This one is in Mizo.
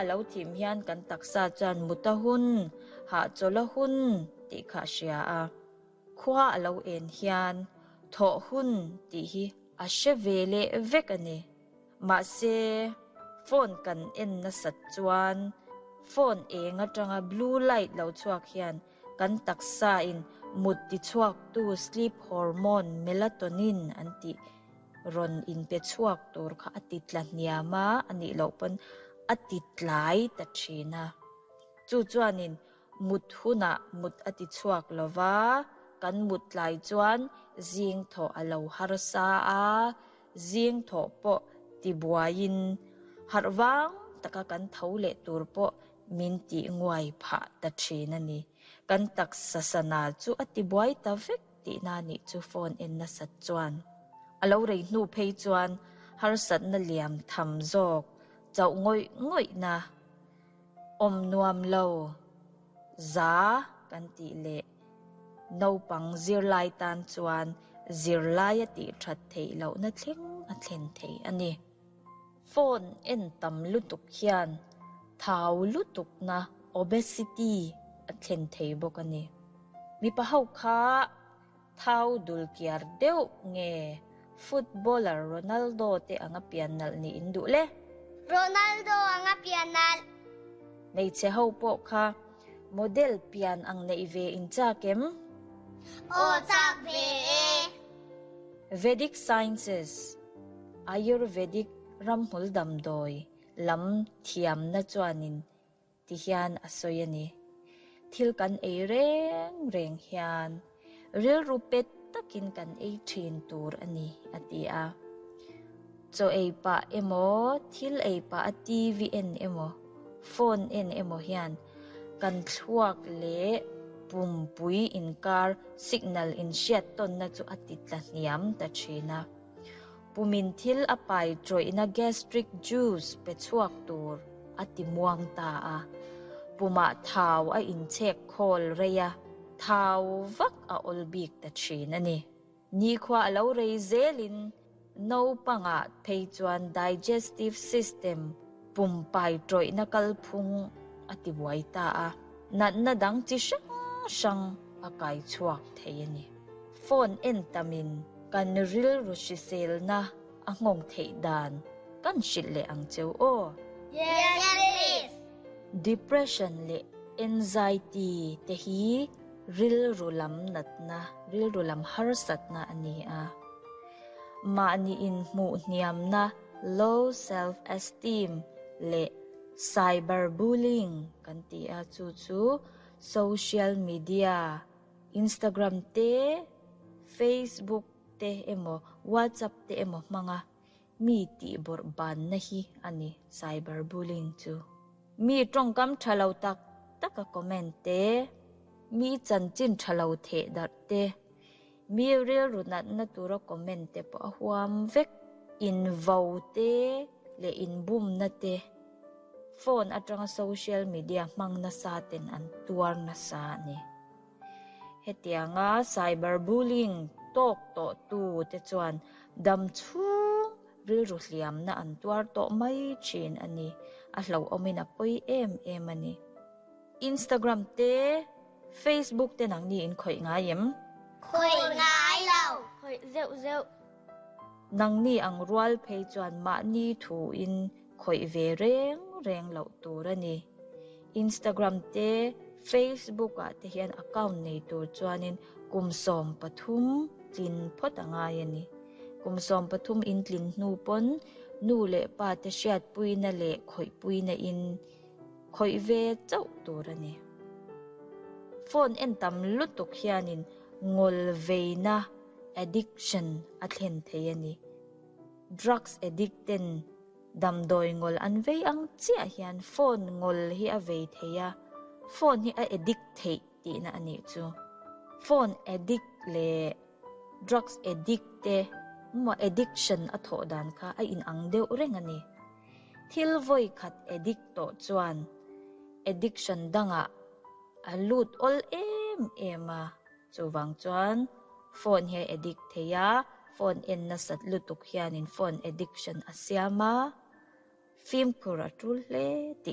a lo thim hian kan taksa chuan mut a hun, hahchawl a hun tih kha a hria a. Khua a lo en hian thawh hun tih hi a hre ve leh vek a ni. Mahse, phone kan en nasat chuan phone eng atanga blue light lo chhuak hian kan taksa in mut tichhuaktu sleep hormone melatonin an tih rawn inpe chhuak tur kha a ti tla hniam a, a nih loh pawn a ti tlai ta thin a. Chu chuanin mut hunah mut a ti chhuak lo va, kan mut tlai chuan zing thawh a lo harsa a, zing thawh pawh ti buaiin harh vang taka kan tho leh tur pawh min tih nguai phah ta thin a ni. Kan taksa sana chu a ti buai ta vek. Tihna nih chu phone en nasat chuan a lo rei hnu phei chuan harsatna liam tham zawk chauh ngawih ngawihna awm nuam lo za kan tih leh naupang zirlai tan chuan zirlai a tih that theih lohna thleng a thlen thei a ni. Phone en tam lutuk hian thau lutukna, obesity, a thlen thei bawk a ni. Mipa ho kha thau dul kiar deuh nge footballer Ronaldo te anga pian nalh nih in duh le? Ronaldo anga pian nalh. Hmeichhe ho pawh kha model pian ang neih ve in chak em? Aw chak ve e. Vedic Sciences, Ayurvedic ramhmul damdawi lam thiamna chuanin ti hian a sawi a ni. Thil kan ei reng reng hian rilru pet takin kan ei thin tur a ni, a ti a. Chaw ei pah emaw, thil ei pah a TV en emaw, phone en emaw hian kan thluak leh pumpui inkar signal inhriat tawnna chu a ti tla hniam ta thin a. Pumin thil a pai tawihna gastric juice pe chhuak tur a ti muang ta a. Pumah thau a inchhek khawl rei a, thau vak a awl bik ta thin a ni. Nikhua a lo rei zelin naupangah phei chuan digestive system pumpai tawihna kalphung a ti buai ta a, natna dang chi hrang hrang a kai chhuak thei a ni. Phone en tamin kan rilru hriselna a nghawng theih dan kan hrilh leh ang cheu aw. Yes please! Depression leh anxiety te hi rilru lam natna, rilru lam harsatna a ni a. Mahni inhmuh hniamna, low self esteem, leh cyber bullying kan ti a, chu chu social media, Instagram te, Facebook te emaw WhatsApp te emaw hmanga mi tih bawrh banna hi a ni cyber bullying chu. Mi tawngkam tha lo tak tak a comment te, mi chanchin tha lo theh darh te, mi rilru natna tura comment te pawh a huam vek. Invo te leh inbumna te phone atanga social media hmang nasa ten an tuar nasa a ni. Hetianga cyber bullying tawk tawh tu te chuan dam chhung rilru hliamna an tuar tawh mai thin a ni. A hlauhawmin a pawi em em a ni. Instagram te, Facebook te nangni in khawih ngai em? Khawih ngai lo. Khawih zeuh zeuh. Nangni ang rual phei chuan mahni thu in khawih ve reng reng loh tur a ni. Instagram te, Facebook ah te hian account nei tur chuanin kum 13 tlin phawt a ngai a ni. Kum 13 in tlin hnu pawn nu leh pa te hriatpuina leh khawihpuina in khawih ve chauh tur a ni. Phone en tam lutuk hianin ngawl veina, addiction, a thlen thei a ni. Drugs addict ten Damdawi ngawl an vei ang chiah hian phone ngawl hi a vei thei a, phone hi a addict theih tihna a nih chu. Phone addict leh drugs addict te maw addiction a thawh dan kha a inang deuh reng a ni. Thil vawi khat addict tawh chuan addiction dangah a lut awl em em a. Chuvang chuan phone hi a addict thei a, phone en nasat lutuk hianin phone addiction a siam a, fimkhur a tul hle tih.